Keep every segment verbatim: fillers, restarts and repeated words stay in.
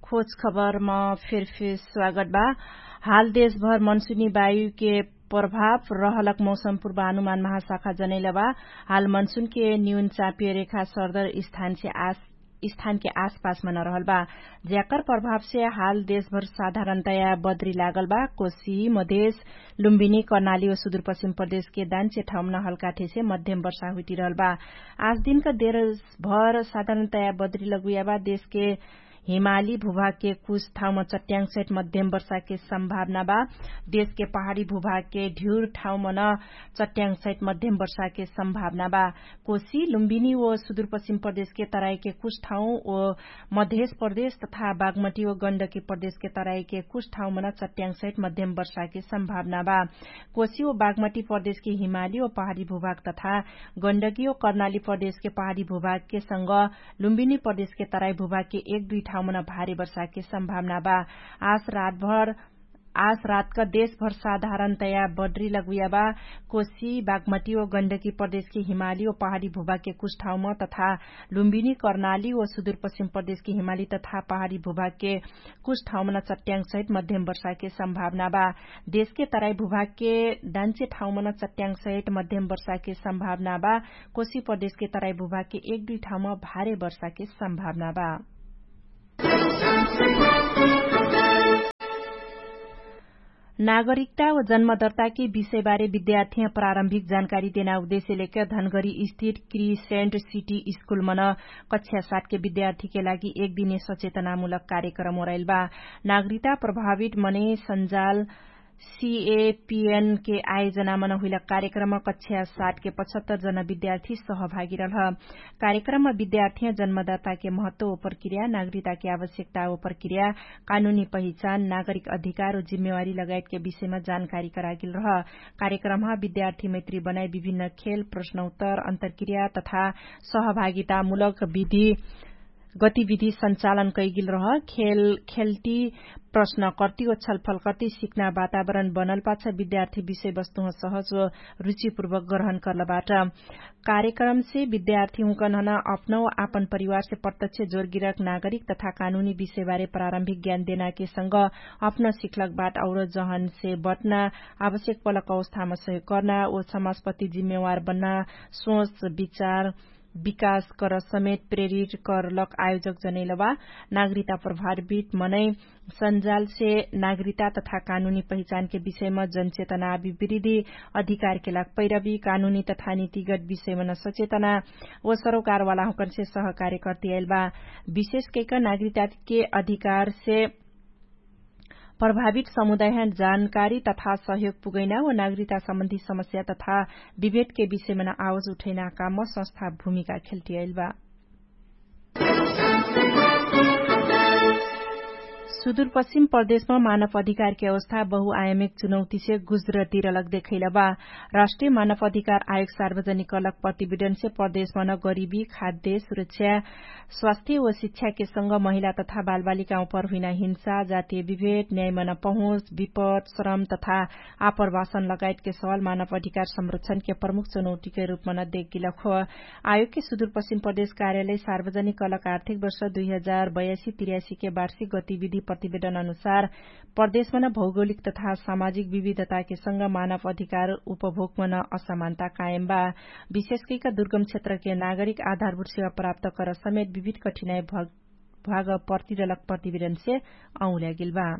खोज खबरमा फेरफेर स्वागत बा। हाल देशभर मनसुनी वायुके प्रभाव रहलक मौसम पूर्वानुमान महाशाखा जनैलबा। हाल मनसुनके न्यून चापिय रेखा सर्दर स्थानके आसपासमा नरहलबा, ज्याकर प्रभावसे हाल देशभर साधारणतया बद्री लागलबा। कोशी मधेश लुम्बिनी कर्णाली व सुदुरपश्चिम प्रदेशके दान्चे ठाउँमा नहलकाठेसे मध्यम वर्षा हुइटिरहलबा। आजदिनका देशभर साधारणतया बद्री लगुयाबा। देशके हिमाली भुभागके कुछ ठाउँमा चट्याङ्ग सहित मध्यम वर्षाके सम्भावना बा। देशके पहाडी भुभागके ढ्युर ठाउँमा न चट्याङ्ग सहित मध्यम वर्षाके सम्भावना बा। कोशी लुम्बिनी व सुदुरपश्चिम प्रदेशके तराइके कुछ ठाउँ व मधेश प्रदेश तथा बागमटी व गण्डकी प्रदेशके तराइके कुछ ठाउँमा न चट्याङ्ग सहित मध्यम वर्षाके सम्भावना बा। कोशी व बागमटी प्रदेशके हिमाली व पहाडी भुभाग तथा गण्डकी व कर्णाली प्रदेशके पहाडी भुभागके संग लुम्बिनी प्रदेशके तराई भुभागके एक दुई ठाउँमा न भारी वर्षाके सम्भावना बा। आज रातभर आज रातका देशभर साधारणतया बड्री लगुयाबा। कोशी बागमटी व गण्डकी प्रदेशके हिमाली व पहाडी भुभागके कुछ ठाउँमा तथा लुम्बिनी कर्णाली व सुदुरपश्चिम प्रदेशके हिमाली तथा पहाडी भुभागके कुछ ठाउँमा न चट्याङ्ग सहित मध्यम वर्षाके सम्भावना बा। देशके तराई भुभागके दान्चे ठाउँमा न चट्याङ्ग सहित मध्यम वर्षाके सम्भावना बा। कोशी प्रदेशके तराई भुभागके एक दुई ठाउँमा भारे वर्षाके सम्भावना बा। नागरिकता व जन्मदर्ताके विषयबारे विद्यार्थीह प्रारम्भिक जानकारी देना उद्देश्य लेके धनगरी स्थित क्रिसेन्ट सिटी स्कुलमन कक्षा सातके विद्यार्थीके लागि एक दिने सचेतनामूलक कार्यक्रम ओराइलबा। नागरिकता प्रभावित मनै सन्जाल सिएपिएनके आयोजनामन हुइलक कार्यक्रम कक्षा सातके पचहत्तर जना विद्यार्थी सहभागी रहल। कार्यक्रममा विद्यार्थीह जन्मदाताके महत्व व प्रक्रिया नागरिकताके आवश्यकता व प्रक्रिया कानुनी पहिचान नागरिक अधिकार व जिम्मेवारी लगायतके विषयमा जानकारी करागेल रह। कार्यक्रममा विद्यार्थी मैत्री बनाइ विभिन्न खेल प्रश्नोत्तर अन्तरक्रिया तथा सहभागितामूलक विधि गतिविधि सञ्चालन कैगेल रह। खेल खेल्टी प्रश्न कर्ती व छलफल कर्ती सिक्ना वातावरण बनल पाछ विद्यार्थी विषयवस्तुह सहज व रुचिपूर्वक ग्रहण कर्लबाट। कार्यक्रमसे विद्यार्थी हुँकन्हन अपनौ आपन परिवारसे प्रत्यक्ष जोरगिरक नागरिक तथा कानुनी विषयबारे प्रारम्भिक ज्ञान देनाके संग अपना सिखलक बाट और जहनसे बटना आवश्यक पलक अवस्थामा सहयोग कर्ना व समाजपति जिम्मेवार बन्ना सोच विचार विकास कर समेत प्रेरित करलक आयोजक जनैलबा। नागरिकता प्रभावित मनै सन्जालसे नागरिकता तथा कानुनी पहिचानके विषयमा जनचेतना विवृद्धि अधिकारके लाग पैरवी कानुनी तथा नीतिगत विषयमा न सचेतना व सरोकारवाला हुँकनसे सहकार्य कर्तियाइलबा। विशेष कैक नागरिकताके अधिकारसे प्रभावित समुदायहन जानकारी तथा सहयोग पुगैना व नागरिकता सम्बन्धी समस्या तथा विभेदके विषयमा न आवाज उठैना काममा संस्था भूमिका खेल्टियाइलबा। सुदुरपश्चिम प्रदेशमा मानव अधिकारके अवस्था बहुआयामिक चुनौतीसे गुज्रतिरलक देखैलबा। राष्ट्रिय मानव अधिकार आयोग सार्वजनिक कलक प्रतिवेदनसे प्रदेशमा न गरिबी खाद्य सुरक्षा स्वास्थ्य व शिक्षाके संग महिला तथा बालबालिकामा पर हुइना हिंसा जातीय विभेद न्यायमा न पहुँच विपद श्रम तथा आप्रवासन लगायतके सवाल मानव अधिकार संरक्षणके प्रमुख चुनौतीके रूपमा न देखगिलक हो। आयोगके सुदुरपश्चिम प्रदेश कार्यालय सार्वजनिक कलक आर्थिक वर्ष दुई हजार बयासी तिर्यासीके वार्षिक गतिविधि प्रतिवेदन अनुसार प्रदेशमा न भौगोलिक तथा सामाजिक विविधताके संग मानव अधिकार उपभोगमा न असमानता कायम बा। विशेष कैक दुर्गम क्षेत्रके नागरिक आधारभूत सेवा प्राप्त कर समेत विविध कठिनाइ भग भाग प्रतिवेदक प्रतिवेदनसे औल्यागिल बा।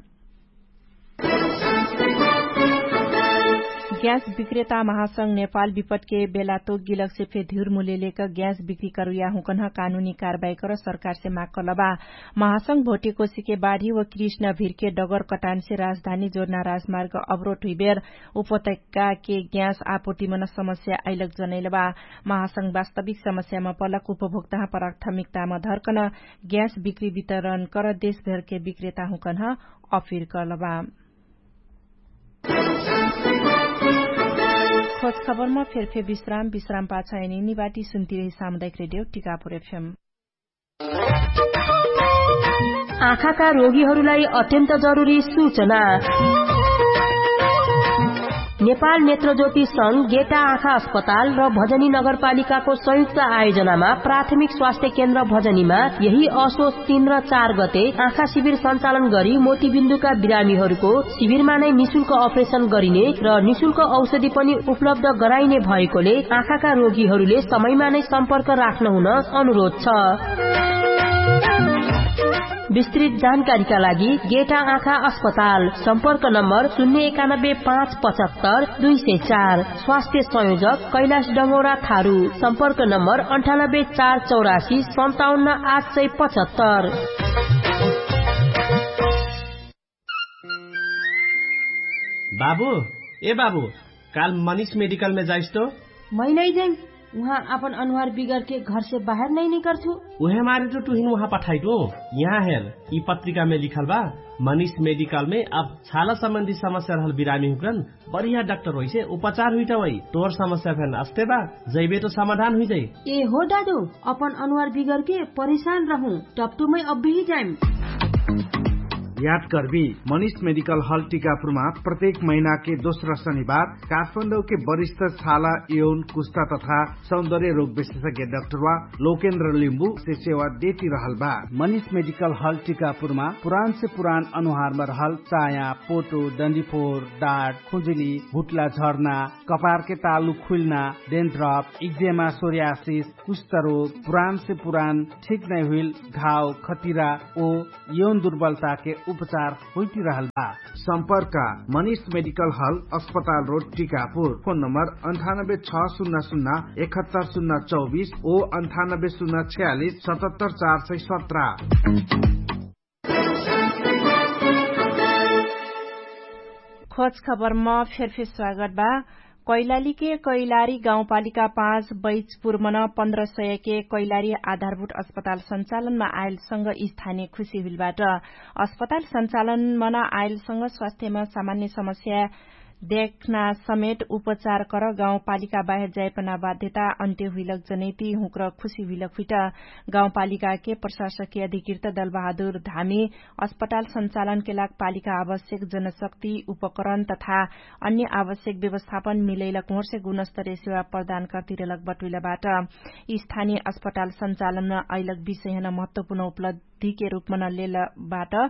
ग्यास विक्रेता महासंघ नेपाल विपटके बेला तोक गिलकसे फे धिउर मुलेलेक ग्यास विक्री करुया हुँकन्ह कानुनी कारबाही कर सरकारसे माग कलबा। महासंघ भोटेकोसीके बाढी व कृष्ण भिरके डगर कटानसे राजधानी जोर्ना राजमार्ग अवरोट हुइबेर उपत्यकाके ग्यास आपुर्तिमन समस्या अइलक जनैलबा। महासंघ वास्तविक समस्यामा पलक उपभोक्ताह प्राथमिकतामा धर्कन ग्यास बिक्री वितरण कर देशभरके बिक्रेता हुँकन्ह अपिर कलबा। खोज खबरमा फेरफे विश्राम विश्राम पाछ एनी निवाटी सुन्तिरही सामुदायिक रेडियो टिकापुर एफएम। आँखाका रोगीहरूलाई अत्यन्त जरुरी सूचना। नेपाल नेत्रज्योति संघ गेटा आँखा अस्पताल र भजनी नगरपालिकाको संयुक्त आयोजनामा प्राथमिक स्वास्थ्य केन्द्र भजनीमा यही असोच तीन र चार गते आँखा शिविर सञ्चालन गरी मोतीबिन्दुका बिरामीहरूको शिविरमा नै निशुल्क अपरेशन गरिने र निशुल्क औषधि पनि उपलब्ध गराइने भएकोले आँखाका रोगीहरूले समयमा नै सम्पर्क राख्न हुन अनुरोध छ। विस्तृत जानकारीका लागि गेटा आँखा अस्पताल, सम्पर्क नम्बर शून्य एकानब्बे पाँच पचहत्तर दुई सय चार। स्वास्थ्य संयोजक कैलाश डङ्गौरा थारू, सम्पर्क नम्बर अन्ठानब्बे चार चौरासी सन्ताउन्न आठ सय पचहत्तर। बाबु, ए बाबु, काल मनिष मेडिकलमे जाइस तो? मै नै जाइम। उहाँ आपन अनुहार बिगरके घरसे बाहेर नै निकर्छु। उहे मारे तो तुहिन उहाँ पठाइटु। यहाँ हेर, यि पत्रिकामे लिखल बा, मनिष मेडिकलमे अब छाला सम्बन्धी समस्या रहल बिरामी हुक्रन बढिया डाक्टर होइसे उपचार हुइटवै। तोर समस्या फेन अस्ते बा, जैबे तो समाधान हुइजै। ए हो दादु, अपन अनुहार बिगरके परेशान रहु, टप्टुमै अब्बेही जाइम। याद कर्बी, मनिष मेडिकल हल टिकापुरमा प्रत्येक महिनाके दोस्रा शनिबार काठमाडौके वरिष्ठ छाला, यौन, कुस्ता तथा सौन्दर्य रोग विशेषज्ञ डाक्टरवा लोकेन्द्र लिम्बुसे सेवा देति रहल बा। मनिष मेडिकल हल टिकापुरमा पुरानसे पुरान अनुहारमा रहल चाया, पोटो, डन्डीफोर, डाट, खुजुली, भुट्ला झर्ना, कपारके तालु खुइल्ना, डेन्ड्रप, इक्जेमा, सोर्यासिस, कुष्ठरोग, पुरानसे पुरान ठिक नै हुइल घाव, खतिरा ओ यौन दुर्बलताके उपचार होइतिरहल बा। सम्पर्क, मनिष मेडिकल हल, अस्पताल रोड, टिकापुर। फोन नम्बर अन्ठानब्बे छ सुन्ना सुन्ना एकहत्तर सुन्ना चौबिस ओ अन्ठानब्बे सुन्ना छयालिस सतहत्तर चार सय सत्र। खोज खबरम फेरफेर स्वागत बा। कैलालीके कैलारी गाउँपालिका पाँच बैजपुरमन पन्ध्र सयके कैलारी आधारभूट अस्पताल सञ्चालनमा आइलसँग स्थानीय खुशी हुइलबाट। अस्पताल सञ्चालनमा आइलसँग स्वास्थ्यमा सामान्य समस्या देखना समेट उपचार कर गाउँपालिका बाहेर जाइपना बाध्यता अन्त्य हुइलक जनैति हुँक्र खुशी हुइलक हुइट। गाउँपालिकाके प्रशासकीय अधिकृत दलबहादुर धामी अस्पताल सञ्चालनके लाग पालिका आवश्यक जनशक्ति उपकरण तथा अन्य आवश्यक व्यवस्थापन मिलैलक हुँर्से गुणस्तरीय सेवा प्रदान कर्तिरलक बटुइलबाट। स्थानीय अस्पताल सञ्चालनमा अइलक विषयहन महत्वपूर्ण उपलब्धिके रूपमन लेलबाट।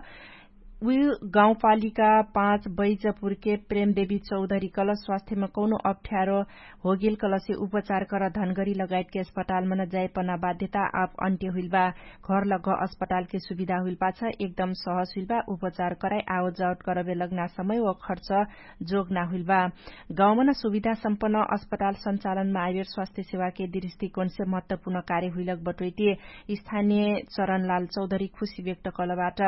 उइ गाउँपालिका पाँच बैजपुरके प्रेमदेवी चौधरी कल स्वास्थ्यमा कौनो अप्ठ्यारो होगेल कलसे उपचार कर धनगरी लगायतके अस्पतालमन जाइपना बाध्यता आप अन्त्य हुइलबा। घरलग्घ अस्पतालके सुविधा हुइलपाछ एकदम सहज हुइलबा। उपचार कराइ आवजावट करबे लग्ना समय व खर्च जोग ना हुइलबा। गाउँमन सुविधा सम्पन्न अस्पताल सञ्चालनमा आइबेर स्वास्थ्य सेवाके दृष्टिकोणसे महत्वपूर्ण कार्य हुइलक बटोइते स्थानीय चरणलाल चौधरी खुशी व्यक्त कलबाट।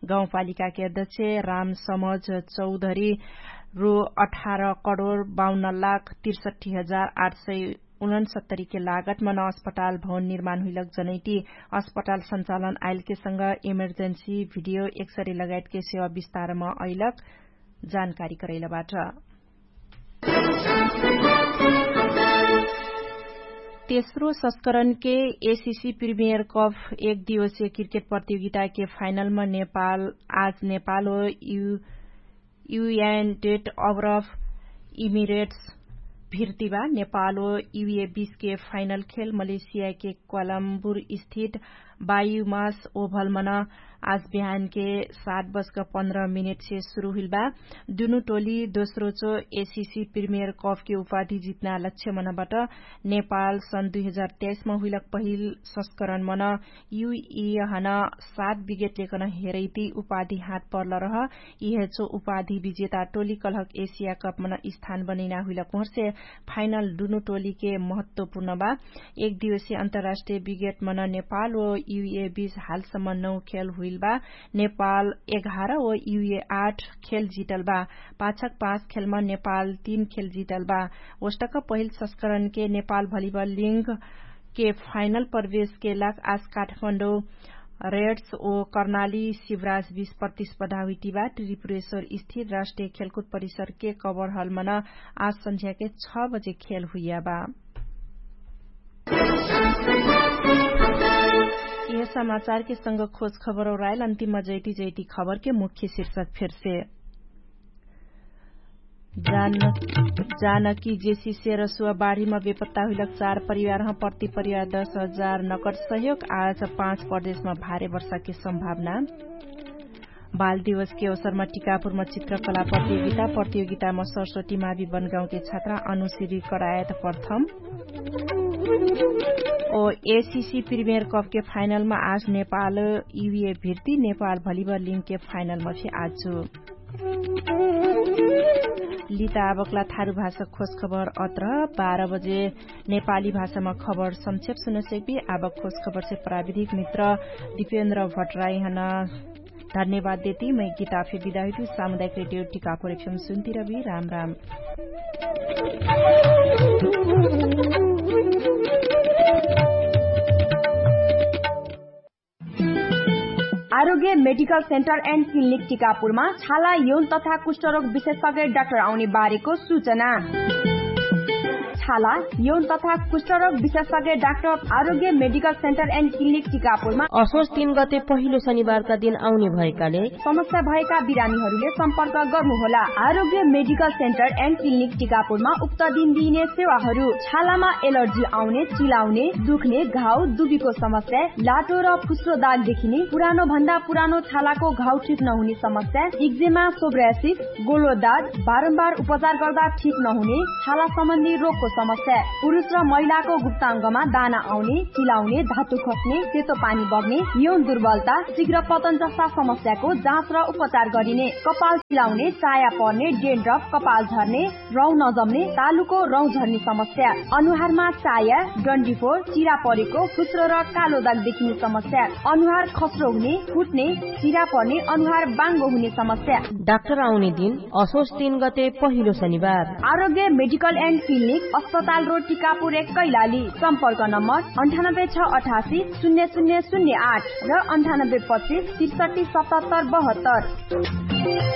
गाउँपालिकाके अध्यक्ष राम समझ चौधरी रु अठार करोड बाउन्न लाख त्रिसठी हजार आठ सय उनन्सत्तरीके लागतमन अस्पताल भवन निर्माण हुइलक जनैति अस्पताल सञ्चालन आइलकेसँग इमर्जेन्सी भिडियो एक्सरे लगायतके सेवा विस्तारमा अइलक जानकारी करैलबाट। तेस्रो संस्करणके एसिसी प्रिमियर कप एक दिवसीय क्रिकेट प्रतियोगिताके फाइनलमा नेपाल आज नेपाल हो यु युएन डेट अब्रफ इमिरेट्स भिर्तिबा। नेपाल हो युए बीसके फाइनल खेल मलेसियाके क्वालम्बुर स्थित बायुमास ओभलमन आज बिहानके सात बजक पन्ध्र मिनेटसे सुरु हुइलबा। दुनु टोली दोस्रोचो एसिसी प्रिमियर कपके उपाधि जित्ना लक्ष्यमनबाट नेपाल सन् दुई हजार तेइसमा हुइलक पहिल संस्करणमन युइहन सात विगेट लेकन हेरैति उपाधि हात पर्ल रह। इहेचो उपाधि विजेता टोली कलहक एसिया कपमन स्थान बनैना हुइलक हुँर्से फाइनल दुनु टोलीके महत्वपूर्ण बा। एक दिवसीय अन्तर्राष्ट्रिय विगेटमन नेपाल ओ युए बीस हालसम्म नौ खेल हुइल बा। नेपाल एघार ओ युए आठ खेल जितल बा। पाछक पाँच खेलमा नेपाल तीन खेल जितल बा। ओस्टक पहिल संस्करणके नेपाल भलिबल लिङ्गके फाइनल प्रवेशके लाग आज काठमाडौँ रेड्स ओ कर्णाली शिवराज बीच प्रतिस्पर्धा हुइटिबा। त्रिपुरेश्वर स्थिर राष्ट्रिय खेलकुद परिसरके कबर हलमन आज सन्झ्याके छ बजे खेल हुइयाबा। यह समाचारके संग खोज खबर और आयल अन्तिम जैती जैती खबरके मुख्य शीर्षक फेरसे। जानकी जेसी सेरसुवा बाढीमा बेपत्ता हुइलक चार परिवारह प्रति परिवार दस हजार नकट सहयोग। आज पाँच प्रदेशमा भारे वर्षाके सम्भावना। बाल दिवसके अवसरमा टिकापुरमा चित्रकला प्रतियोगिता। प्रतियोगितामा सरस्वती मावी बनगाउँके छात्रा अनुश्री करायत प्रथम। ओ एसिसी प्रिमियर कपके फाइनलमा आज नेपाल युए भिर्ती नेपाल भलिबल लिङ्गके फाइनलमा फे आजु। लिता आबकला थारु भाषा खोज खबर अत्र बाह्र बजे नेपाली भाषामा खबर संक्षेप सुनसेक्बी। आबक खोज खबरसे प्राविधिक मित्र दिपेन्द्र भट्टराइहन धन्यवाद देती मै गीता फे बिदा हुइतु। सामुदायिक रेडियो टिकापुर एफएम सुन्ती रबी। राम राम। आरोग्य मेडिकल सेन्टर एन्ड क्लिनिक टिकापुरमा छाला यौन तथा कुष्ठरोग विशेषज्ञ डाक्टर आउने बारेको सूचना। छाला यौन तथा कुष्ठरोग विशेषज्ञ डाक्टर आरोग्य मेडिकल सेन्टर एन्ड क्लिनिक टिकापुरमा असोज तीन गते पहिलो शनिबारका दिन आउने भएकाले समस्या भएका बिरामीहरूले सम्पर्क गर्नुहोला। आरोग्य मेडिकल सेन्टर एन्ड क्लिनिक टिकापुरमा उक्त दिन दिइने सेवाहरू छालामा एलर्जी आउने, चिलाउने, दुख्ने, घाउ दुबीको समस्या, लाटो र फुस्रो दाग देखिने, पुरानो भन्दा पुरानो छालाको घाउ ठिक नहुने समस्या, इक्जेमा, सोब्रासिस, गोलो दाग, बारम्बार उपचार गर्दा ठिक नहुने छाला सम्बन्धी रोगको समस्या, पुरुष र महिलाको गुप्ताङ्गमा दाना आउने, चिलाउने, धातु खस्ने, सेतो पानी बग्ने, यौन दुर्बलता, शीघ्र पतन जस्ता समस्याको जाँच र उपचार गरिने, कपाल चिलाउने, चाया पर्ने, डेन्ड्रफ, कपाल झर्ने, रौँ नजम्ने, तालुको रौँ झर्ने समस्या, अनुहारमा चाया, डन्डीफोर, चिरा परेको, फुस्रो र कालो दाग देखिने समस्या, अनुहार खस्रो हुने, फुट्ने, चिरा पर्ने, अनुहार बाङ्गो हुने समस्या। डाक्टर आउने दिन असोज तीन गते पहिलो शनिबार। आरोग्य मेडिकल एन्ड क्लिनिक, अस्पताल रोड, टिकापुर एक, कैलाली। सम्पर्क नम्बर अन्ठानब्बे छ अठासी शून्य शून्य शून्य आठ र अन्ठानब्बे पच्चिस त्रिसठी सतहत्तर बहत्तर।